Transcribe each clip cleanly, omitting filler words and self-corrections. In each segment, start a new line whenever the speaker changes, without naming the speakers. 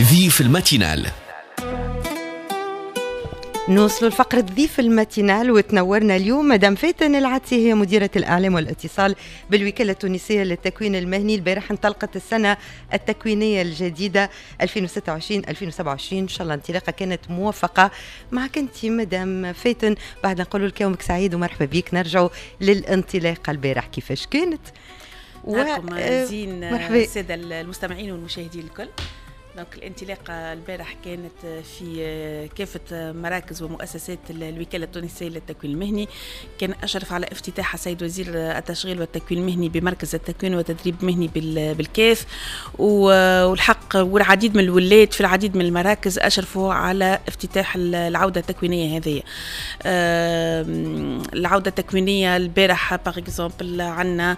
ضيف ال matinale.
نوصلوا لفقرة ضيف ال matinale، وتنورنا اليوم مدام فاتن العدسي، هي مديرة الإعلام والاتصال بالوكالة التونسية للتكوين المهني. البارح انطلقت السنة التكوينية الجديدة 2026 2027، إن شاء الله انطلاقة كانت موفقة. معك أنت مدام فاتن، بعد نقول لك يومك سعيد ومرحبا بك. نرجع للانطلاقة البارح كيفاش كانت؟
و زين السادة المستمعين والمشاهدين الكل. donc الانطلاقة البارح كانت في كافة مراكز ومؤسسات الوكالة التونسية للتكوين المهني. كان أشرف على افتتاحها السيد وزير التشغيل والتكوين المهني بمركز التكوين والتدريب المهني بالكاف، والحق والعديد من الولات في العديد من المراكز أشرفوا على افتتاح العودة التكوينية هذه. العودة التكوينية البارح par exemple عندنا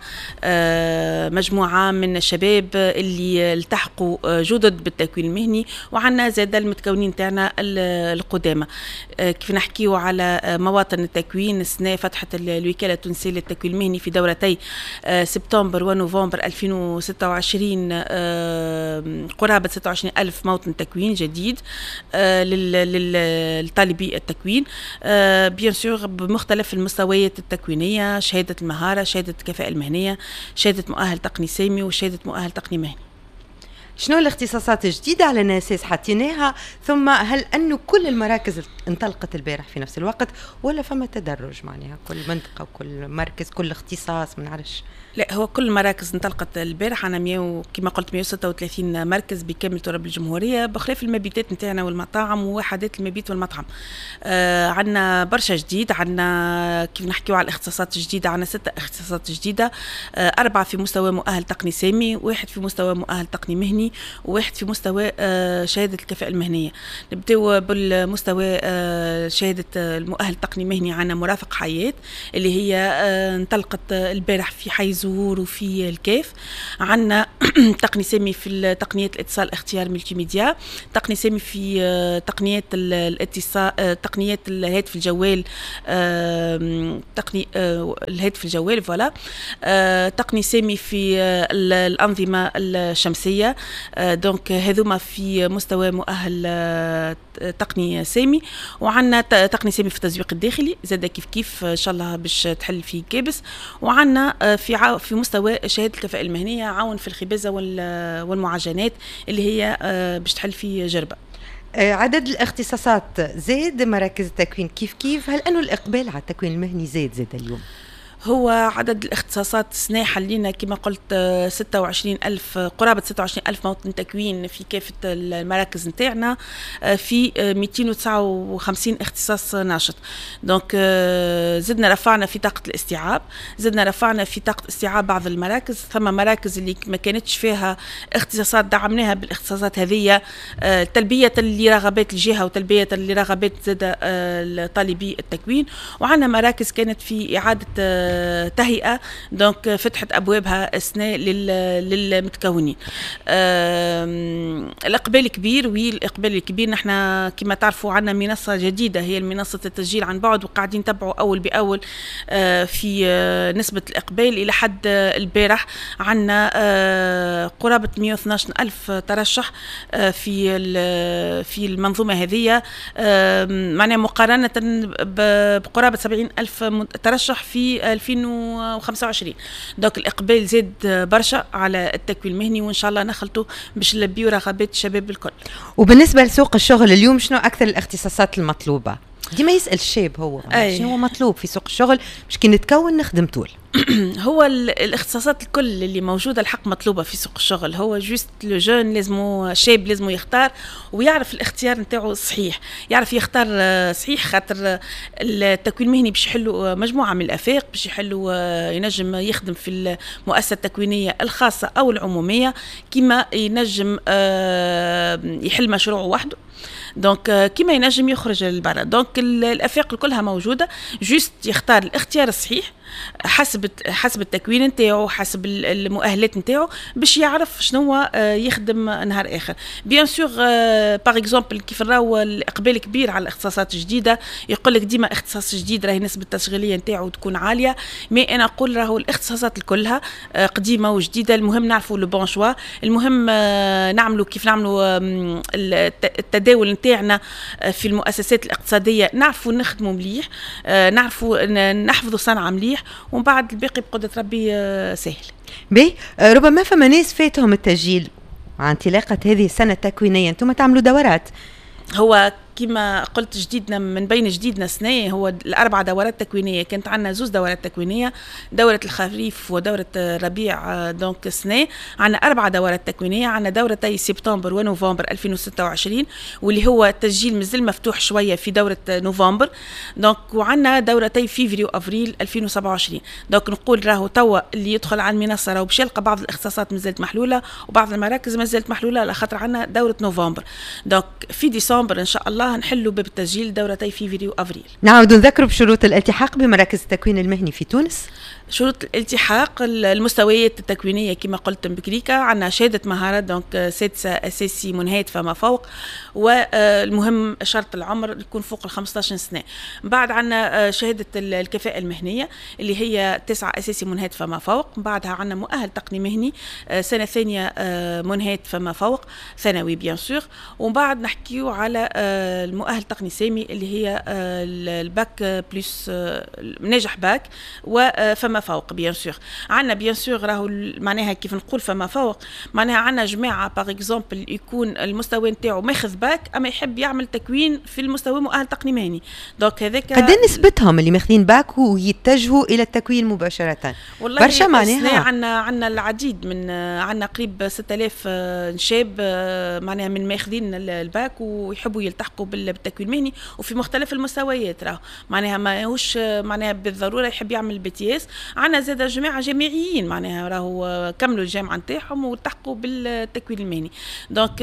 مجموعة من الشباب اللي التحقوا جدد بالتكوين المهني، وعندنا زاد المتكونين تاعنا القدامى. كيف نحكيو على مواطن التكوين، السنة فتحت الوكالة التونسية للتكوين المهني في دورتي سبتمبر ونوفمبر 2026 قرابة 26 ألف موطن تكوين جديد للطالبي التكوين، bien sûr بمختلف المستويات التكوينية: شهادة المهارة، شهادة الكفاءة المهنية، شهادة مؤهل تقني سامي، وشهادة مؤهل تقني مهني.
شنو الاختصاصات الجديدة على أساس حطيناها؟ ثم هل أنه كل المراكز انطلقت البارح في نفس الوقت ولا فما تدرج، معناها كل منطقة وكل مركز، كل اختصاص، ما نعرفش؟
لا، هو كل المراكز انطلقت البارح. عنا 100، كما قلت، 136 مركز بكامل تراب الجمهوريه، بخلاف المبيتات نتاعنا والمطاعم ووحدات المبيت والمطعم. عندنا برشا جديد. عندنا كيف نحكيو على الاختصاصات الجديده، عندنا ستة اختصاصات جديده: أربعة في مستوى مؤهل تقني سامي، واحد في مستوى مؤهل تقني مهني، وواحد في مستوى شهادة الكفاءة المهنيه. نبداو بالمستوى شهادة المؤهل التقني مهني. عندنا مرافق حياة اللي هي انطلقت البارح في حي زهور وفي الكاف. عندنا تقني سامي في تقنيات الاتصال اختيار multimédia، تقني سامي في تقنيات الاتصال، تقنيات الهاتف الجوال، تقني الهاتف الجوال voilà، تقني سامي في الأنظمة الشمسية. donc هذوما في مستوى مؤهل تقني سامي. وعندنا تقني سامي في التزويق الداخلي زاد كيف كيف، ان شاء الله باش تحل في قابس. وعندنا في مستوى شهادة الكفاءة المهنية عون في الخبازه والمعجنات اللي هي باش تحل في جربه.
عدد الاختصاصات زاد، مراكز التكوين كيف كيف، هل انه الاقبال على التكوين المهني زاد زاد اليوم؟
هو عدد الاختصاصات السنة حلينا كما قلت 26 ألف، قرابة 26 ألف موطن تكوين في كافة المراكز نتاعنا في 259 اختصاص ناشط. donc زدنا رفعنا في طاقة الاستيعاب، زدنا رفعنا في طاقة استيعاب بعض المراكز. ثم مراكز اللي ما كانتش فيها اختصاصات دعمناها بالاختصاصات هذه تلبية لرغبات الجهة وتلبية لرغبات زاد طالبي التكوين. وعندنا مراكز كانت في إعادة تهيئة، donc فتحت أبوابها السنة للمتكونين. الإقبال كبير، oui الإقبال الكبير. نحن كما تعرفوا عندنا منصة جديدة هي منصة التسجيل عن بعد، وقاعدين نتبعوا أول بأول في نسبة الإقبال. إلى حد البارح عندنا قرابة 112 ألف ترشح في المنظومة هذه، معناها مقارنة بقرابة 70 ألف ترشح في 2025. donc الإقبال زاد برشا على التكوين المهني، وإن شاء الله نخلطوا باش نلبيو رغبات الشباب الكل.
وبالنسبة لسوق الشغل اليوم، شنو أكثر الاختصاصات المطلوبة؟ ديما يسأل الشاب هو شنو هو مطلوب في سوق الشغل باش كي نتكون نخدم طول.
هو الاختصاصات الكل اللي موجودة الحق مطلوبه في سوق الشغل. هو juste le jeune لازمو، شاب لازمو يختار ويعرف الاختيار نتاعو صحيح، يعرف يختار صحيح، خاطر التكوين المهني باش يحلوا مجموعة من الافاق، باش يحلوا ينجم يخدم في المؤسسة التكوينيه الخاصة او العموميه، كما ينجم يحل مشروعه وحده، donc كيما ينجم يخرج للبرا. donc الافاق كلها موجوده، juste يختار الاختيار الصحيح. حسب التكوين نتاعو، حسب المؤهلات نتاعو، باش يعرف شنو يخدم نهار اخر. bien sûr، par exemple كيف نراو الاقبال كبير على الاختصاصات الجديده، يقول لك ديما اختصاص جديد راهي نسبه التشغيلية نتاعو تكون عاليه، mais انا نقول راهو الاختصاصات كلها قديمة وجديده، المهم نعرفوا le bon choix، المهم نعملوا كيف نعملوا التداول نتاعنا في المؤسسات الاقتصاديه، نعرفوا نخدموا مليح، نعرفوا نحفظوا صنعه مليح، ومن بعد الباقي بقدره ربي سهل.
باهي، ربما فما ناس فاتهم التسجيل مع انطلاقة هذه السنة التكوينيه، انتم تعملوا دورات.
هو كما قلت جديدنا، من بين جديدنا سنة هو الأربع دورات تكوينية. كانت عندنا زوز دورات تكوينية، دورة الخريف ودورة الربيع. donc سنة عندنا أربع دورات تكوينية، عندنا دورتي سبتمبر ونوفمبر 2026، واللي هو التسجيل مازال مفتوح شوية في دورة نوفمبر. donc وعندنا دورتي فيفري وأفريل 2027. donc نقول راهو توا اللي يدخل على المنصة راهو باش يلقى بعض الاختصاصات مازالت محلولة وبعض المراكز مازالت محلولة، على خاطر عندنا دورة نوفمبر. donc في ديسمبر إن شاء الله نحلوا باب التسجيل دورتي فيفري وافريل.
نعاود نذكروا بشروط الالتحاق بمراكز التكوين المهني في تونس.
شروط الالتحاق، المستويات التكوينيه كما قلت بكريكا، عندنا شهادة مهارات، donc سادسة اساسي منهاة فما فوق، والمهم شرط العمر يكون فوق ال 15 سنه. بعد عندنا شهادة الكفاءة المهنية اللي هي تسعة اساسي منهاة فما فوق. بعدها عندنا مؤهل تقني مهني سنة ثانية منهاة فما فوق، ثانوي bien sûr. ومن بعد نحكيو على المؤهل التقني سامي اللي هي ال bac plus، ناجح باك وفما فوق bien sûr. عندنا bien sûr راهو معناها كيف نقول فما فوق، معناها عندنا جماعة par exemple يكون المستوى نتاعو ماخذ باك اما يحب يعمل تكوين في المستوى مؤهل تقني مهني، donc هذاك.
قد نسبتهم اللي ماخذين باك ويتجهوا الى التكوين مباشره؟
والله برشا، معناها عندنا العديد، من عندنا قريب 6000 شاب معناها من ماخذين الباك ويحبوا يلتحقوا بالتكوين المهني وفي مختلف المستويات. راه معناها ماهوش معناها بالضرورة يحب يعمل BTS. عندنا زاد جماعة جامعيين، معناها راهو كملوا الجامعة نتاعهم والتحقوا بالتكوين المهني. donc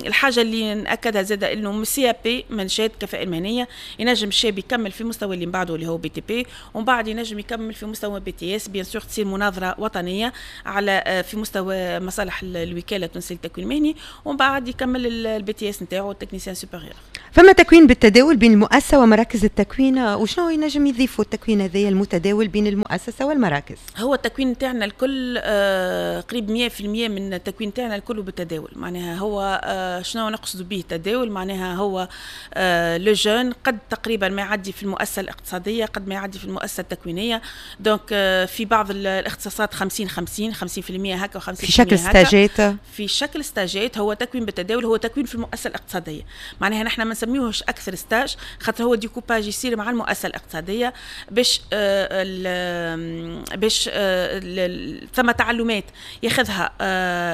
الحاجة اللي ناكدها زاد انه من CAP، من شهادة الكفاءة المهنيه، ينجم الشاب يكمل في مستوى اللي من بعده اللي هو BTP، ومن بعد ينجم يكمل في مستوى BTS. bien sûr تصير مناظرة وطنية على في مستوى مصالح الوكالة التونسية للتكوين المهني، ومن بعد يكمل ال BTS نتاعو technicien supérieur.
فما تكوين بالتداول بين المؤسسة ومراكز التكوين، وشنو ينجم يضيفوا التكوين هذايا المتداول بين المؤسسة والمراكز؟
هو التكوين تاعنا الكل قريب 100% من التكوين تاعنا الكل بالتداول. معناها هو شنو نقصد به التداول؟ معناها هو le jeune قد تقريبا ما يعدي في المؤسسة الاقتصادية قد ما يعدي في المؤسسة التكوينيه. donc في بعض الاختصاصات 50 50، 50% هكا و50%
في شكل ستاجات.
في شكل ستاجات. هو تكوين بالتداول هو تكوين في المؤسسة الاقتصاديه، معناها نحن ما نسميوهش اكثر stage، خاطر هو ديكوباج يصير مع المؤسسة الاقتصادية باش ثم تعلمات ياخذها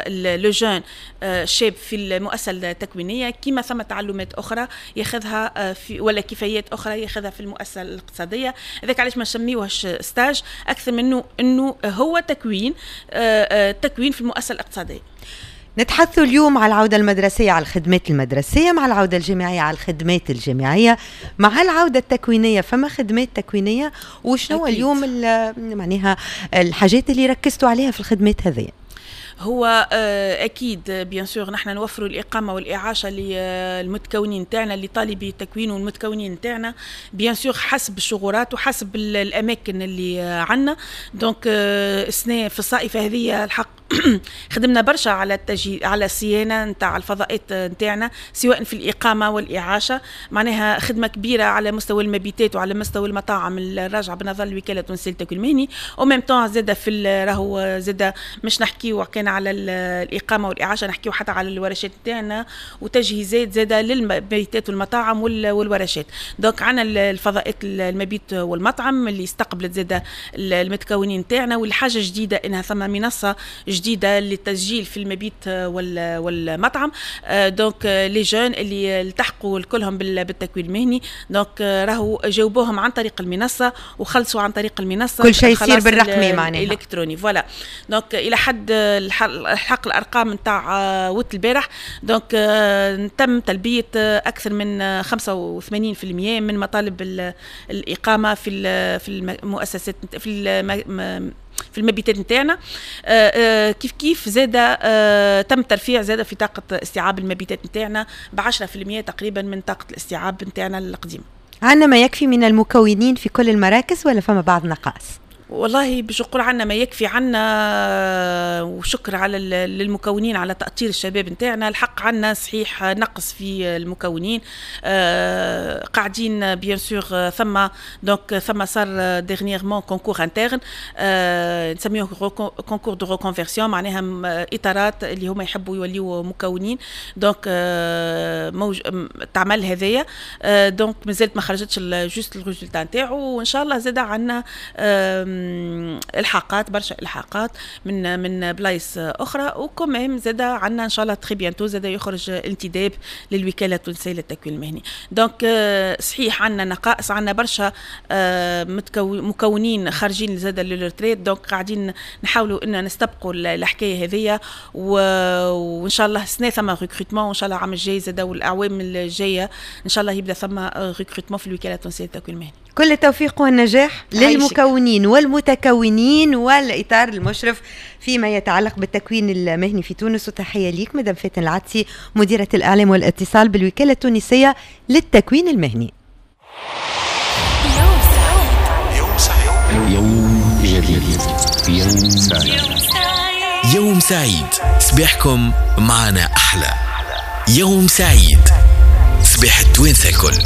le jeune الشاب في المؤسسة التكوينيه، كما ثم تعلمات اخرى ياخذها في ولا كفايات اخرى ياخذها في المؤسسة الاقتصاديه. هذاك علاش ما نسميوهش stage اكثر منه انه هو تكوين في المؤسسة الاقتصاديه.
نتحدث اليوم على العودة المدرسية، على الخدمات المدرسية، مع العودة الجامعية على الخدمات الجامعية، مع العودة التكوينية فما خدمات تكوينية، وشنو اليوم معناها الحاجات اللي ركزتوا عليها في الخدمات هذه؟
هو اكيد bien sûr نحن نوفروا الاقامة والاعاشه للمتكونين تاعنا، لطالبي التكوين والمتكونين تاعنا، bien sûr حسب الشغورات وحسب الاماكن اللي عندنا. donc السنة في الصائفه هذه الحق خدمنا برشا على التجهيز، على الصيانة نتاع الفضاءات نتاعنا، سواء في الاقامة والاعاشه. معناها خدمة كبيرة على مستوى المبيتات وعلى مستوى المطاعم الراجعة بنظر الوكالة التونسية للتكوين المهني. au même temps زاد في راهو زاد مش نحكيو كان على الاقامة والاعاشه، نحكيو حتى على الورشات نتاعنا وتجهيزات زاد للمبيتات والمطاعم والورشات. donc عندنا الفضاءات المبيت والمطعم اللي استقبلت زاد المتكونين نتاعنا. والحاجة جديدة انها ثم منصة جديدة جديدة للتسجيل في المبيت والمطعم. donc les jeunes اللي التحقوا كلهم بالتكوين المهني، donc راهو جاوبوهم عن طريق المنصة وخلصوا عن طريق المنصه.
كل شيء يصير بالرقمي معناها.
الالكتروني، voilà. donc الى حد الحق الارقام نتاع وقت البارح، donc تم تلبية اكثر من 85% من مطالب الاقامة في المؤسسات، في المبيتات نتاعنا. كيف كيف زاد تم ترفيع زاد في طاقة استيعاب المبيتات نتاعنا ب 10% تقريبا من طاقة الاستيعاب نتاعنا القديمه.
عندنا ما يكفي من المكونين في كل المراكز ولا فما بعض نقائص؟
والله باش نقول عنا ما يكفي، عنا، وشكر على للمكونين على تأطير الشباب نتاعنا. الحق عنا صحيح نقص في المكونين، قاعدين bien sûr ثم donc ثم صار dernièrement concours interne نسميه concours de reconversion، معناها اطارات اللي هما يحبوا يوليوا مكونين، donc موج تعمل هذايا، donc مازالت ما خرجتش juste ال résultat نتاعو. وان شاء الله زاد عندنا الحاقات، برشا الحاقات من بلايص اخرى، و quand même زاد عندنا ان شاء الله très bientôt زاد يخرج انتداب للوكاله التونسية للتكوين المهني. donc صحيح عندنا نقائص، عندنا برشا مكونين خارجين زاد لل retraite، donc قاعدين نحاولوا ان نستبقوا الحكاية هذيا، وان شاء الله السنة ثم recrutement، وان شاء الله العام الجاي زاد والاعوام الجاية ان شاء الله يبدا ثم recrutement في الوكالة التونسية للتكوين المهني.
كل التوفيق والنجاح للمكونين والمتكونين والإطار المشرف فيما يتعلق بالتكوين المهني في تونس، وتحية ليك مدام فاتن العدسي، مديرة الإعلام والاتصال بالوكالة التونسية للتكوين المهني.
يوم سعيد، يوم سعيد،
يوم جديد، يوم سعيد،
يوم سعيد. صباحكم معنا أحلى. يوم سعيد، صباح التوانسة الكل.